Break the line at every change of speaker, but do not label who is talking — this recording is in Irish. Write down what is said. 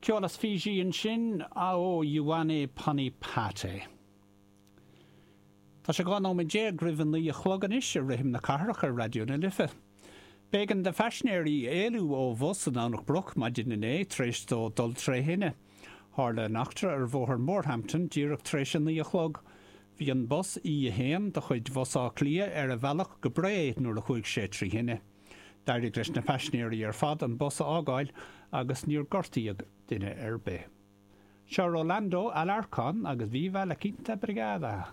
Ceol as Fiji ansin, ó Ioane Ponipate. Tá sé 12 nóiméad roimh a 9 a chlog anois i rithim na cathrach ar Raidió na Life. B'éigean do phaisinéirí éalú ó bhus i nDomhnach Broc maidin inné tar éis dó dul tré thine. Tharla an eachtra ar bhóthar Morehampton díreach tar éis a 9 a chlog. Bhí an bus E1 de chuid Bhus Átha Cliath ar a bhealach go Bré nuair a chuaigh sé trí thine. D'éirigh leis na paisinéirí ar fad an bus a fhágáil agus níor gortaíodh duine ar bith. Seo Rolando Alarcón agus Viva la Quinta Brigada.